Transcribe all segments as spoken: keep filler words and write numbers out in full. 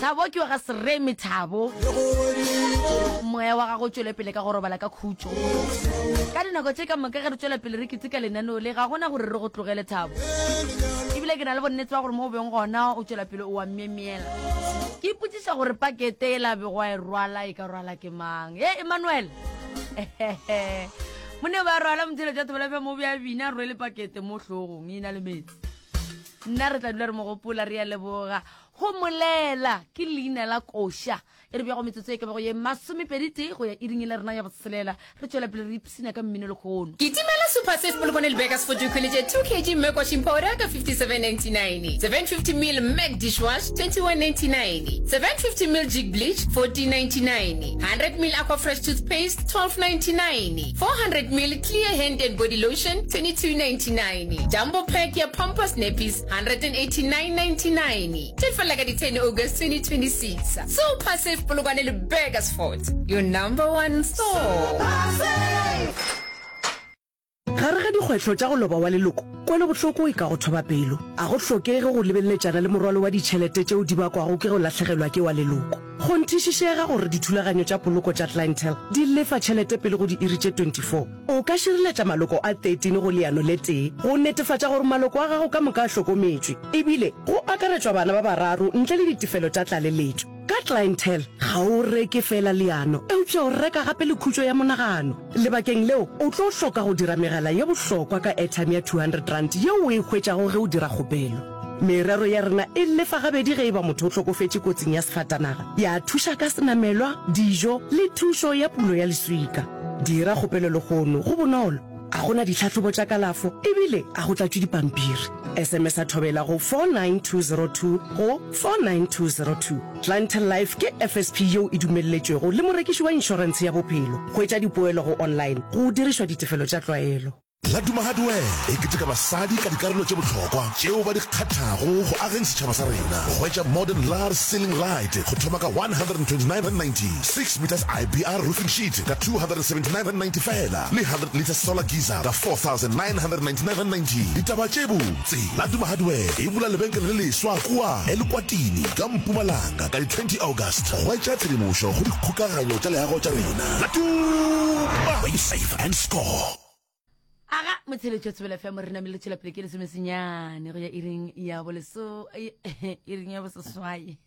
Thabo ke wa ga Seremi Thabo. Moya wa gago o tšwele pele ka go robala ka khutšo. Ka dinako tše ka moka ge re tšwela pele re keteka lenaneo le, ga gona gore re go tlogele Thabo. Ebile ke na le bonnete ba gore mo o beng gona o tšwela pele o wa myemyela. Ke ipotšiša gore pakete e la bego a e rwala e ka rwala ke mang. He Emmanuel! Mone ba rwala motheletša Thobela F M o be a bina a rwele pakete mo hlogong e na le metsi. Nna re tla dula re mo gopola, re a leboga. Go molela ke leina la koša e re bjago metsotso e ka bago ye masomepedi tee go ya iring e la rena ya botshelela. Re tšwela pele re ipshina ka mmino lehono. Kitimela Super Safe Polokwane le Burgers for Dikgwele tše two kg Mac washing powder ka fifty-seven ninety-nine, seven fifty mil Mac dishwash twenty-one ninety-nine, seven fifty mil Jig bleach fourteen ninety-nine, hundred mil Aqua Fresh toothpaste twelve ninety-nine, four hundred mil Clear hand and body lotion twenty-two ninety-nine, Jumbo pack ya Pampers nappies hundred and eighty-nine ninety-nine. Tše fela ka di ten August twenty twenty-six. Super Safe Polokwane le Burgers Fort, your number one store. Gare ga dikgwetlho tša go loba wa leloko, kwelobohloko e ka go thoba pelo. A go hlokege go lebeleletšana le morwalo wa ditšhelete tšeo di bakwago ke go lahlegelwa ke wa leloko. Kgonthišišega gore dithulaganyo tša poloko tša Clientele di lefa tšhelete pele go diiri tše twenty-four. O ka šireletša maloko a thirteen go leano le tee go netefatša gore maloko a gago ka moka a hlokometšwe, ebile go akaretšwa bana ba bararo ntle le ditefelo tša tlaleletšo. Ka Clientele, ga o reke feela leano, eupša o reka gape le khutšo ya monagano. Lebakeng leo, o tlo hloka go dira megala ye bohlokwa ka airtime ya two hundred rand yeo o e hwetšago ge o dira kgopelo. Merero ya rena e lefa gabedi ge e ba motho o hlokofetše kotsing ya sefatanaga, ya thuša ka senamelwa, dijo le thušo ya pulo ya leswika. Dira kgopelo lehono, go bonolo, a go na ditlhahlobo tša kalafo ebile a go tlatšwe dipampiri. S M S a thobela go four nine two zero two go four nine two zero two. Clientele Life ke F S P yeo e dumelletšwego le morekiši wa inšorentshe ya bophelo. Hwetša dipoelo go online go dirišwa ditefelo tša tlwaelo. Laduma Hardware e keteka basadi ka dikarolo tše bohlokwa tšeo ba di kgathago go ageng setšhaba sa rena. Hwetša modern large ceiling light go thoma ka one hundred and twenty-nine rand ninety, six meters I B R roofing sheet ka two hundred and seventy-nine rand ninety fela, le hundred liters solar geyser ka four thousand nine hundred and ninety-nine rand ninety. Ditaba tše botse, Laduma Hardware e bula lebenkele le leswa kua Elukwatini ka Mpumalanga ka di twenty August. Hwetša tshedimošo go dikgokaganyo tša leago tša rena. Laduma, where you save and score. Aga motsheletšo Thobela F M re namile tšwela pele ke lesomesenyane go ya iring ya boleso iring ya boseswai.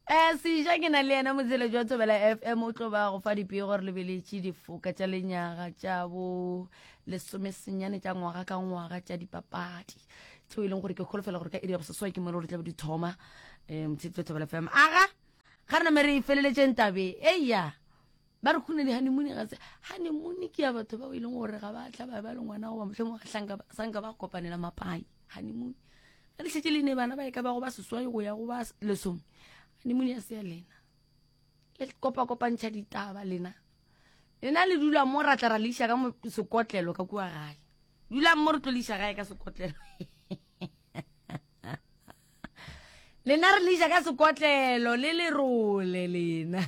Eh seja ke na le yena motsheletšo wa Thobela F M o tlo ba go fa dipego gore lebeletše difoka tša lenyaga tša bo lesomesenyane tša ngwaga ka ngwaga tša dipapadi tšeo e leng gore ke kholofela gore ka iri ya boseswai ke mo le gore tla be di thoma. Eh motsheletšo wa Thobela F M. Aga ga re name re feleletšeng tabe eya ba re khune di-honeymoon ga se honeymoon ke ya batho bao e leng gore ga ba tla ba ba le ngwana goba mohlomongwe ga hlanka ba, sanka ba kopanela mapai. Honeymoon ga le šetše le ne bana ba e ka bago ba seswai go ya go ba lesome, honeymoon ya se ya lena le kopa-kopantšha ditaba lena. Lena le dula mo ra tla ra le iša ka mo sekotlelo ka kua gae, dulang mo re tlo le iša gae ka sekotlelo. Lena re le iša ka sekotlelo le lerole lena.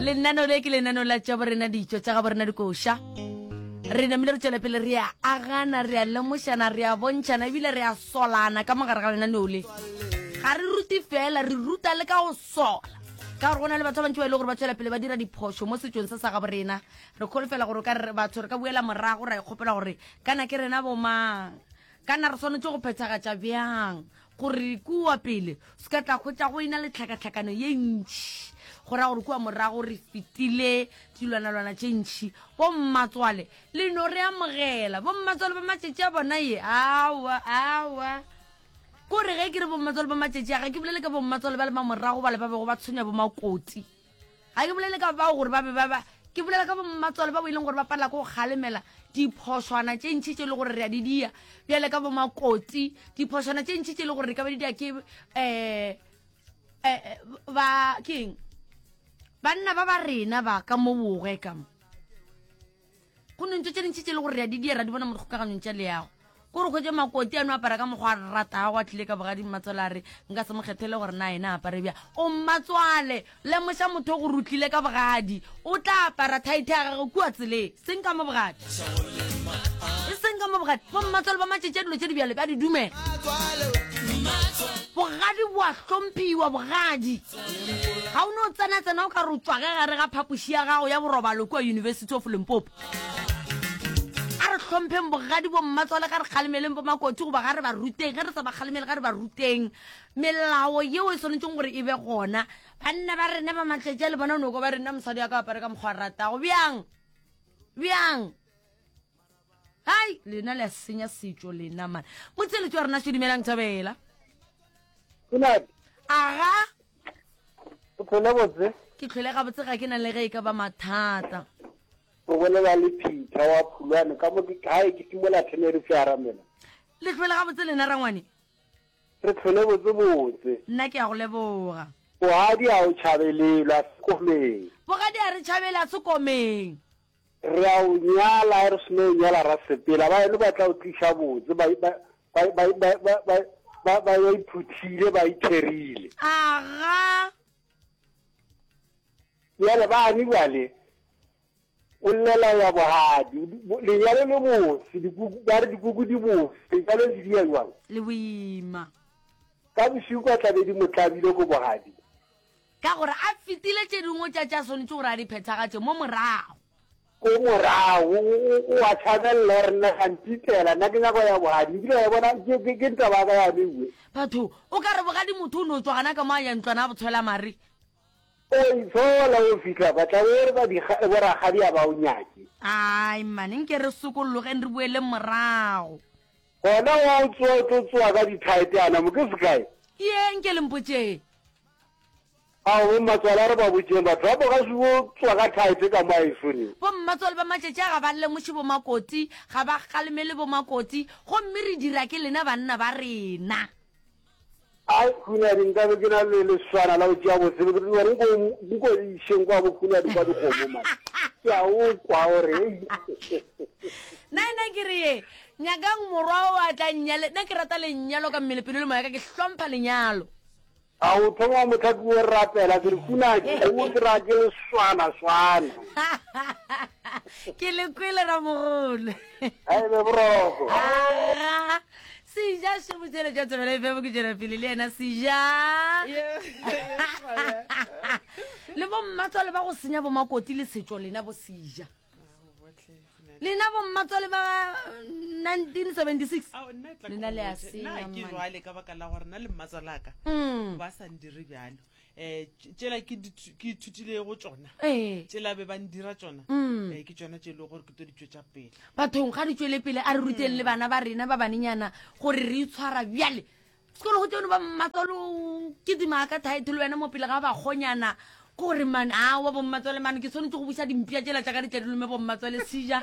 Lenano le ke lenano la tša borena ditšo tša ga borena dikoša. Re namile re tšwela pele re a agana, re a lemošana, re a bontšhana ebile re a solana ka mogare ga lenaneo le. Ga re rute fela, re ruta le ka go sola. Ka gore go na le batho ba bantši ba e le gore ba tšwela pele ba dira diphošo mo setšong se sa ga borena. Re kholofela gore ka re batho re ka buela morago ra ikgopela gore kana ke rena bomang, kana re swanetše go phethagatša bjang gore kua pele se ka tla hwetša go ena le tlhakatlhakano ye ntši. Go ra gore kua morago re fetile dilwanalwana tše ntši. Bommatswale le no re amogela, bommatswale ba matšatši a bona ye aowa aowa. Kore ge ke re bommatswale ba matšatši a, ga ke bolele ka bommatswale ba le ba morago bale ba bego ba tshwenya bomakoti. Ga ke bolele ka bao gore ba be ba ba, ke bolela ka bommatswale ba bo e leng gore ba palela ke go kgalemela diphošwana tše ntši tše e le gore re a di dia bjale ka bomakoti, diphošwana tše ntši tše e le gore re ka ba di dia ke, eh, eh, ba keng banna ba ba rena ba ka mo bogwe ka mo. Go ne ntho tše dintši tše e le gore re a di dia ra di bona mo dikgokaganyong tša leago. Kore hwetše makoti a no apara ka mokgwa a ratago, a tlile ka bogadi mmatswale a re nka se mo kgethele gore na ena apare bjang. O mmatswale, lemoša motho o go rutlile ka bogadi, o tla apara thaithe ya gagwe kua tseleng, seng ka mo bogadi, e seng ka mo bogadi. Bo mmatswale ba matšatši a dilo tše di bjale ba di dumela. Bogadi bo a hlomphiwa, bogadi. Ga o no tsena-tsena o ka re o tšwa ge gare ga phapoši ya gago ya borobalo kua University of Limpopo. A re hlompheng bogadi bo mmatswale, ga re kgalemeleng bo makoti goba ga re ba ruteng, ge re sa ba kgalemele ga re ba ruteng melao yeo e swanetšeng gore e be gona. Banna ba rena ba matletše le bona o no kwa ba re nna mosadi wa ka apare ka mokgwa a ratago. Bjang? Bjang? Hai, lena le a senya setšo lena man. Motseletši wa rena Šedimelang Thabela. Kunadi. Aga. O tlhole botse? Ke tlhole gabotse, ga ke na le ge e ka ba mathata. O bolela le Peter wa Phulwane ka mo ke gae ke timola Tenerife ya Ramela. Le tlhole gabotse lena rangwane? Re tlhole botse botse. Nna ke a go leboga. Bogadi a o tšhabelelwa sekomeng. Bogadi a re tšhabela sekomeng. Re a o nyala, re seno o nyala ra sepela. Ba eno ba tla o tliša botse, ba ba ba ba ba ba ba ba iphuthile, ba itherile. Aga. Bjale bane bjale o llela ya bogadi, lenyalo le bose, dikuku, ba re dikuku di bose, lenyalo le dia jwang? Le boima. Ka bošego ka tlabe di mo tlabile ko bogadi. Ka gore a fetile tše dingwe tša tša swanetše gore a di phethagatše mo morago. Ko morago, o a tšhabelela gore nna ga mpitela, nna ke nyako ya bogadi, ebile wa bona ke ke ke ntaba ka yane ewe. Batho, o ka re bogadi motho o no tšwa gana ka mo a ya ntlwana a botshwela mare. O itshola o fihla ba tla be re ba di borakgadi a ba o nyake. Ai mane, nke re sokollogeng re boeleng morago. Gona wa o tsoa o tlo tsoa ka dithaete ana mo ke sekae? Ye nke le mpotšeng. Ao bo mmatswale a re ba botšeng batho ba bo ga se bo tsoa ka thaete ka mo a esoneng. Bo mmatswale ba matšatši a ga ba lemoše bo makoti, ga ba kgalemele bo makoti, gomme re dira ke lena banna ba rena. Ai Khunadi nkabe ke na le leswana la go tšea botsebe ke gore nko nko išeng kwa bo Khunadi kwa dikgomo man. Ke a o kwa gore Nna nna ke re ye nyakang morwa o a tla nnyale, nna ke rata lenyalo ka mmele pelo le moya ka, ke hlompha lenyalo. A o thoma mohla ke o rapela ke re Khunadi o ke ra ke leswana swana. Ke le kwele ramogolo. Ai be boroko. Aga. Seja še motšhele tša Thobela F M ke tšwela pele le yena Seja. Le bo mmatswale ba go senya bo makoti le setšo lena bo Seja. Lena bo mmatswale ba nineteen seventy-six. Ao, nna e tla Lena le a ke senya, nna ke man. jwale ka baka la gore nna le mmatswalaka Mm. ba sa ndire bjalo. Eh, tšela ke dithu-, ke ithutilego go tšona. Ee. Tšela be ba ndira tšona. Mm. Eh, ke tšona tše e lego gore ke tlo di tšwetša pele. Bathong ga di tšwele pele, a re ruteng le bana ba rena ba banenyana gore re itshwara bjale. Sekolo go tseno ba mmatswalo ke dima ka title wena mo pele ga ba kgonyana gore man a wa bo mmatswale man ke swanetše go buša dimpša tšela tša ka di tle di lome bo mmatswale Seja.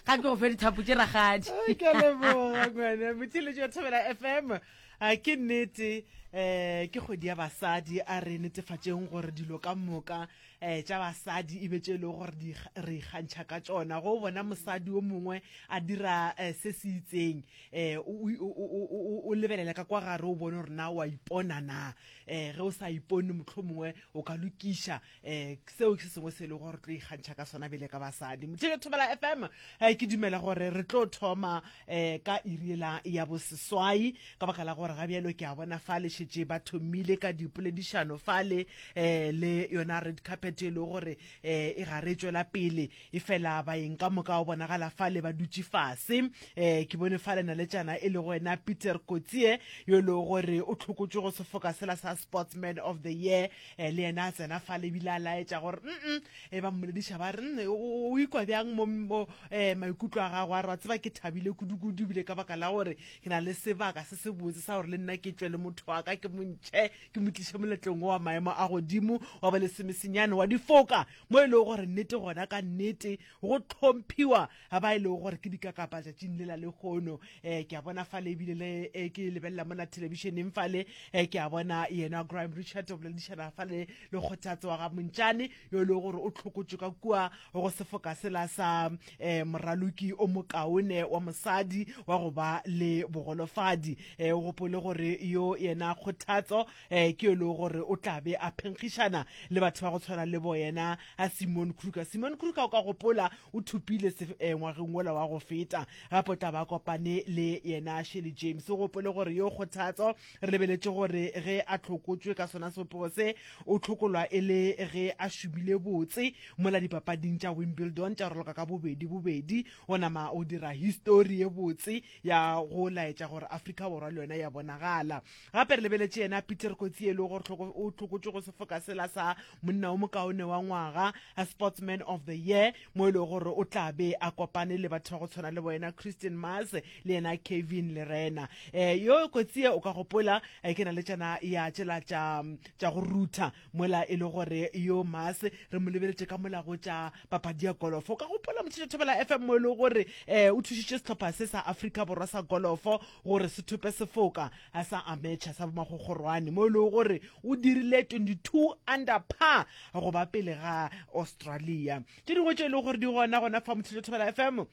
Ga ke go fe dithapo tše rakgadi. Ai, ke a leboga ngwana. Motheeletši wa Thobela F M. A ke nnete, eh, ke kgwedi ya basadi, a re netefatšeng gore dilo ka moka, eh, tša basadi e be tše e lego gore di re ikgantšha ka tšona. Go bona mosadi o mongwe a dira, eh, se se itseng, eh, o, o, o, o, o, o lebelela ka kwa gare o bone gore na o a ipona na. Eh, ge o sa ipone mohlomongwe o ka lokiša, eh, seo ke se sengwe se e lego gore re tlo ikgantšha ka sona bjale ka basadi. Motheeletši Thobela F M, eh, ke dumela gore re tlo thoma, eh, ka iri ela ya boseswai, ka baka la gore ga bjalo ke a bona fale šetše ba thomile ka dipoledišano fale, eh, le yona red carpet e lego gore, eh, e gare e tšwela pele, e fela baeng ka moka o bonagala fale ba dutše fase. Eh, ke bone fale naletšana e lego wena Peter Kotsie, yo e lego gore o tlhokotšwe go sefoka sela sa Sportsman of the Year, eh, le yena a tsena fale ebile a laetša gore, mm-mm, e ba mmolediša ba re, mm, o, o ikwa bjang mo, mo, eh, maikutlo a gago, a re wa tseba ke thabile kudu-kudu ebile ka baka la gore ke na le sebaka se se botse sa gore le nna ke tšwe le motho wa ka ke mo ntšhe ke mo tliše moletlong wa maemo a godimo wa ba lesomesenyane wa difoka, mo e lego gore nnete gona ka nnete go tlhomphiwa ga ba e lego gore ke dikakapa tšatšing le la lehono. Eh, ke a bona fale ebile le, eh, ke lebelela mona thelebišeneng fale, eh, ke a bona yena Graham Richard o boledišana fale le Kgothatso wa ga Montšane, yo e lego gore o tlhokotšwe ka kua go sefoka sela sa, eh, moraloki o mokaone wa mosadi wa go ba le bogolofadi. Eh, o gopole gore yo yena Kgothatso um ke yo e lego gore o tla be a phenkgišana le batho ba go tshwana le bo yena a Simon Kruger. Simon Kruger o ka gopola o thopile se eh, ngwageng wola wa go feta, gape o tla ba kopane le yena Shirley James. O gopole gore yo Kgothatso re lebeletše gore ge a hlokotšwe ka sona sebopego se, o hlokolwa e le ge a šomile botse mola dipapading tša Wimbledon tša raloka ka bobedi bobedi, o nama o dira histori ye botse ya go laetša gore Afrika Borwa le yona ya bonagala. Gape re lebeletše yena Peter Kotsi e le gore o hlokotšwe go sefoka sela sa monna o mokaone wa ngwaga, Sportsman of the Year, mo e lego gore o tla be a kopane le batho ba go tshwana le bo yena Christian Mars le yena Kevin Lerena. Eh, yo Kotsi o ka gopola eh, ke na le tšana ya tšela tša tša go rutha mola e le gore yo Mars re mo lebeletše ka mola go tša papadi ya golofo. O ka gopola Motšhetšo Thobela F M mo e le gore eh, o thušitše sehlopha se sa Afrika Borwa sa golofo gore se thope sefoka sa amateur sa bomakgokgorwane, mo e lego gore o dirile twenty-two under par go ba pele ga Australia. Tše dingwe tše e lego gore di gona gona fa Motšhetšo Thobela F M,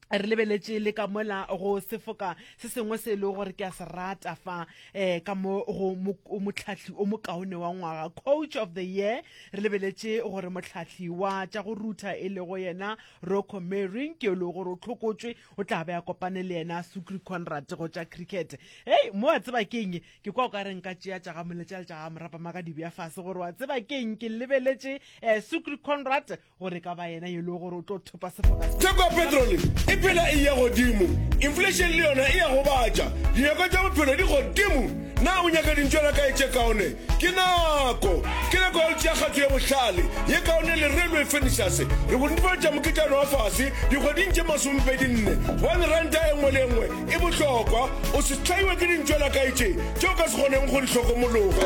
re lebeletše le ka mola go sefoka se sengwe se e lego gore ke a se rata fa um ka mo go mohlahli o mokaone wa ngwaga, Coach of the Year. Re lebeletše gore mohlahli wa tša go rutha e lego yena Rocco Mering ke e lego gore o hlokotšwe, o tla be a kopane le yena Sukri Conrad go tša cricket. Hei, mo wa tseba keng, ke kwa o ka re nka tšea tša ga moletša le tša ga morapama ka di bea fase gore wa tseba keng, ke lebeletše um Sukri Conrad gore ka ba yena yo e lego gore o tlo thopa sefoka. Theko ya petrole e phela e ya godimo, inflation le yona e ya gobatša, dinyakwa tša bophelo di godimo. Na o nyaka dintšwana kae tše kaone? Ke nako! Ke nako ya go tšea kgato ye bohlale, ye kaone le Railway Furnitures. Re go netefaletša moketšana wa fase dikgweding tše masomepedi nne, gobane ranta e nngwe le e nngwe e bohlokwa. O se hlaiwe ke dintšwana kae tše tše o ka se kgoneng go di hlokomologa.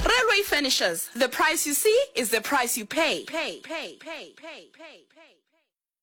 Railway Furnitures, the price you see is the price you pay.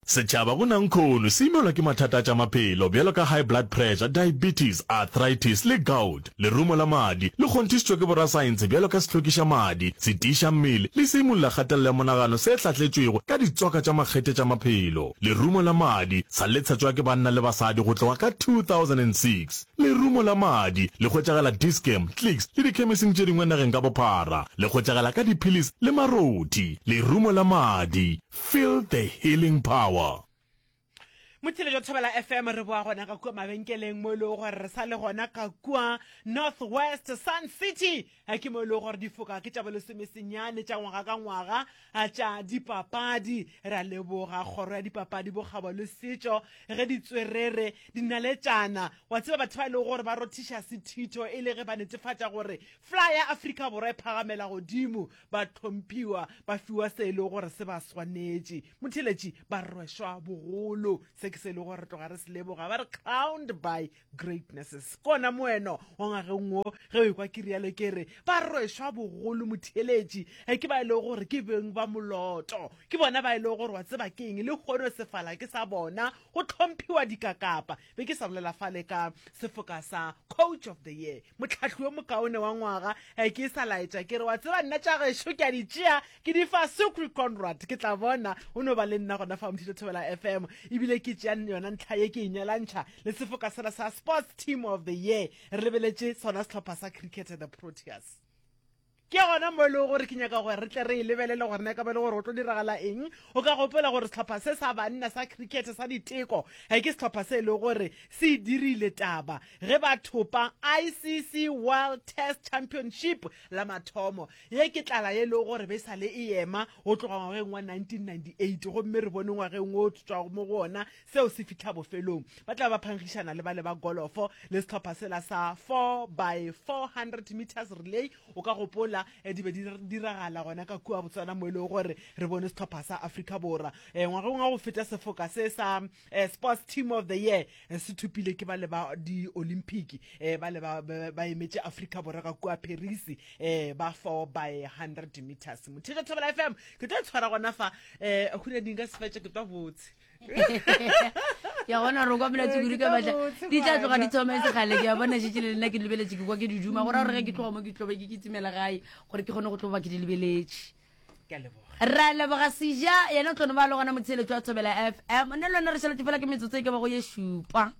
Setšhaba go nankhono se imelwa ke mathata a tša maphelo bjalo ka high blood pressure, diabetes, arthritis le gout. Lerumo la madi le kgonthišitšwe ke borasaense bjalo ka sehlokiša madi, setiiša mmele le seimolla kgatelelo ya monagano se hlahletšwego ka ditswaka tša makgethe tša maphelo. Lerumo la madi sa le tshetšwa ke banna le basadi go tloga ka two thousand and six Lerumo la madi le hwetšagala Dis-Chem, Clicks le dikhemising tše dingwe nageng ka bophara. Le hwetšagala ka diphilisi le marothi. Lerumo la madi, feel the healing power. Motheletšo Thobela F M re boa gona ka kua mabenkeleng mo e lego gore re sa le gona ka kua North West Sun City. Ke mo e lego gore difoka ke tša bolesomesenyane tša ngwaga ka ngwaga tša dipapadi. Re a leboga kgoro ya dipapadi, bokgabo le setšo ge ditswerere dinaletšana wa tseba batho ba e lego gore ba rothiša sethitho e le ge ba netefatša gore fly ya Afrika Borwa e phagamela godimo, ba hlomphiwa, ba fiwa se e lego gore se ba swanetše. Motheletši ba rwešwa bogolo, se ke se e lego gore re tloga re se leboga, ba re crowned by greatnesses. Kona moeno wa ngwageng wo ge o ekwa ke rialo ke re ba rwešwa bogolo motheletši ke ba e lego gore ke beng ba moloto, ke bona ba e lego gore wa tseba keng le kgono sefala ke sa bona, go hlomphiwa dikakapa. Be ke sa bolela fale ka sefoka sa Coach of the Year, mohlahli yo mokaone wa ngwaga, ke sa laetša ke re wa tseba nna tša gešo ke a di tšea ke di fa Sukri Conrad, ke tla bona o no ba le nna gona fa Mthito Thobela F M, ebile ke tšea yona ntlha ye ke e nyalantšha le sefoka sela sa Sports Team of the Year. Re lebeletše sona sehlopha sa cricket the Proteas. Ke gona mo e lego gore ke nyaka gore re tle re e lebelele gore na e ka ba e le gore go tlo diragala eng. O ka gopola gore sehlopha se sa banna sa cricket sa diteko ke sehlopha se e lego gore se dirile taba ge ba thopa I C C World Test Championship la mathomo. Ye ke tlala ye e lego gore be sa le e ema go tloga ngwageng wa nineteen ninety-eight, gomme re bone ngwageng wo tšwago mo go ona seo se fihla bofelong. Ba tla ba phankgišana le bale ba golofo le sehlopha sela sa four by four hundred meters relay. O ka gopola di be di diragala gona ka kua Botswana mo e lego gore re bone sehlopha sa Afrika Borwa ngwageng wa go feta sefoka se sa Sports Team of the Year se thopile ke bale ba di-Olympic, bale ba ba emetše Afrika Borwa ka kua Paris ba four by hundred meters. Motheetša Thobela F M ke tlo tshwara gona fa hunading ka sefetše ke tlo botse. Ya bona re kwa mela tsukuru ka batla di tla tloga di thoma e segale. Ke a bona šetše le nna ke lebeletše, ke kwa ke di duma gore gore ge ke tloga mo ke tlobe ke kitimela gae gore ke kgone go tloba ke di lebeletše. Ra leboga Seja yena o tlo no ba le gona motheeletšo wa Thobela F M. Nne le wena re šaletše fela ke metsotso e ka bago ye šupa.